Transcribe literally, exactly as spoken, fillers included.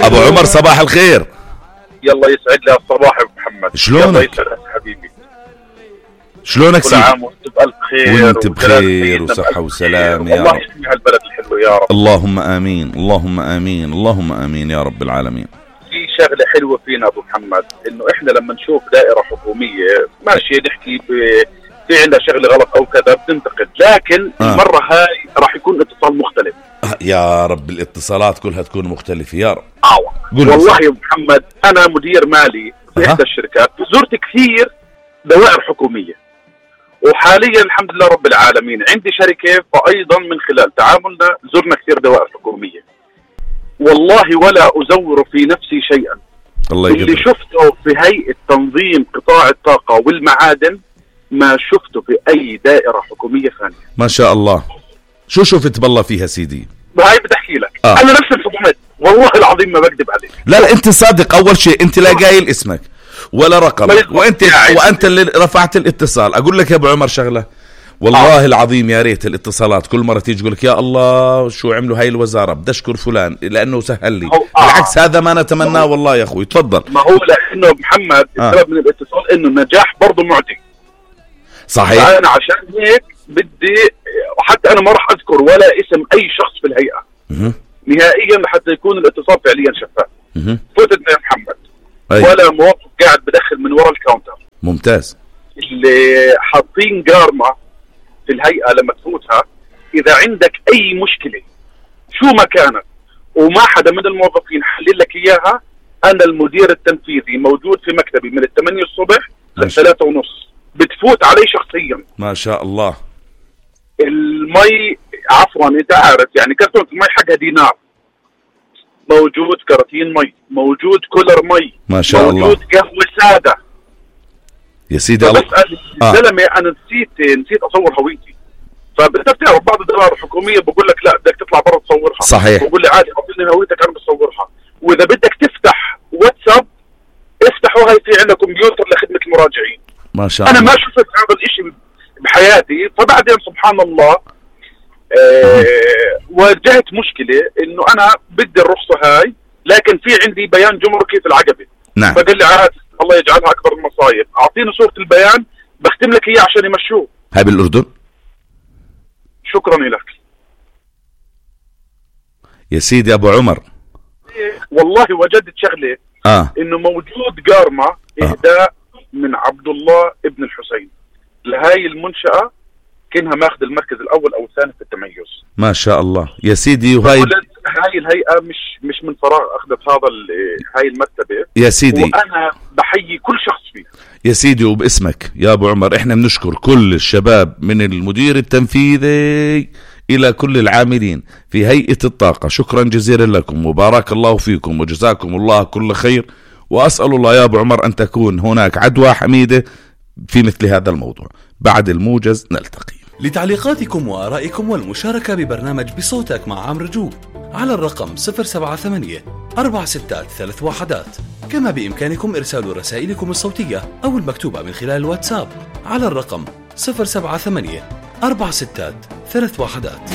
ابو عمر صباح الخير. يلا يسعد لي الصباح يا محمد. شلونك؟ يلا يسعد حبيبي. شلونك كل سيدي؟ عام وانت بألف خير وانت بخير وصحة وسلام يا الله رب. يحمي هالبلد الحلو يا رب. اللهم آمين اللهم آمين اللهم آمين يا رب العالمين. في شغلة حلوة فينا أبو محمد، إنه إحنا لما نشوف دائرة حكومية ماشي نحكي ب... في عندها شغلة غلط أو كذا بننتقد، لكن آه. المرة هاي راح يكون اتصال مختلف. آه يا رب الاتصالات كلها تكون مختلفة يا رب. آه والله يا محمد أنا مدير مالي في إحدى الشركات، زرت كثير دوائر حكومية، وحاليا الحمد لله رب العالمين عندي شركة، فأيضا من خلال تعاملنا زرنا كثير دوائر حكومية. والله ولا أزور في نفسي شيئا. الله اللي يقدر. شفته في هيئة تنظيم قطاع الطاقة والمعادن ما شفته في أي دائرة حكومية ثانية. ما شاء الله. شو شفت بالله فيها سيدي؟ هاي بدي أحكي لك. آه. أنا نفسي انصدمت والله العظيم ما بكذب عليك. لا لا انت صادق. اول شيء انت لا قايل اسمك ولا رقمك، وانت وانت اللي رفعت الاتصال. اقول لك يا ابو عمر شغله والله آه. العظيم يا ريت الاتصالات كل مره تيجي تقول لك يا الله شو عملوا هاي الوزاره، بدي اشكر فلان لانه سهل لي. آه. بالعكس هذا ما نتمناه والله يا اخوي. تفضل. ما هو لانه محمد آه. السبب من الاتصال انه النجاح برضه معدي. صحيح. انا عشان هيك بدي، وحتى انا ما راح اذكر ولا اسم اي شخص في الهيئه مه. نهائيا لحتى يكون الاتصال فعليا شفاف. فتتنا يا محمد. أي. ولا موظف قاعد بدخل من وراء الكاونتر. ممتاز. اللي حاطين قارمة في الهيئة لما تفوتها، إذا عندك أي مشكلة شو ما كانت وما حدا من الموظفين حلل لك إياها، أنا المدير التنفيذي موجود في مكتبي من الثمانية الصبح للثلاثة ونص، بتفوت علي شخصيا. ما شاء الله. المي عفوا أنت عارف يعني كرتونة المي حقها دينار، موجود كراتين مي، موجود كولر مي، ما شاء موجود الله. موجود قهوة سادة يا سيدي الله. بسأل الزلمة آه. أنا نسيت نسيت أصور هويتي. فبدك تعرف بعض الدوائر الحكومية بقول لك لا بدك تطلع برا تصورها. صحيح. بقول لي عادي أعطيني هويتك أنا بصورها. وإذا بدك تفتح واتساب افتحوا، هاي في عندنا كمبيوتر لخدمة المراجعين. ما شاء أنا الله. ما شفت هذا الإشي بحياتي. فبعدين سبحان الله آه واجهت مشكلة إنه أنا بدي الرخصة هاي، لكن في عندي بيان جمركي في العقبة. نعم. فقال لي عادي الله يجعلها أكبر المصايب، أعطيني صورة البيان بختم لك إياه عشان يمشوه. هاي بالأردن؟ شكرا لك يا سيدي أبو عمر. والله وجدت شغلة آه. إنه موجود قارمة إهداء آه. من عبد الله ابن الحسين لهاي المنشأة، كأنها ماخذ المركز الأول أو الثاني في التميز. ما شاء الله يا سيدي. وهاي هاي الهيئة مش مش من فراغ أخذت هذا هاي المرتبة يا سيدي، وأنا بحيي كل شخص فيه يا سيدي. وباسمك يا أبو عمر إحنا بنشكر كل الشباب من المدير التنفيذي إلى كل العاملين في هيئة الطاقة. شكرا جزيلا لكم وبارك الله فيكم وجزاكم الله كل خير. وأسأل الله يا أبو عمر أن تكون هناك عدوى حميدة في مثل هذا الموضوع. بعد الموجز نلتقي. لتعليقاتكم وآرائكم والمشاركة ببرنامج بصوتك مع عمرو جوب على الرقم صفر سبعة ثمانية أربعة ستة ثلاثة واحدات. كما بإمكانكم إرسال رسائلكم الصوتية أو المكتوبة من خلال الواتساب على الرقم صفر سبعة ثمانية أربعة ستة ثلاثة واحدات.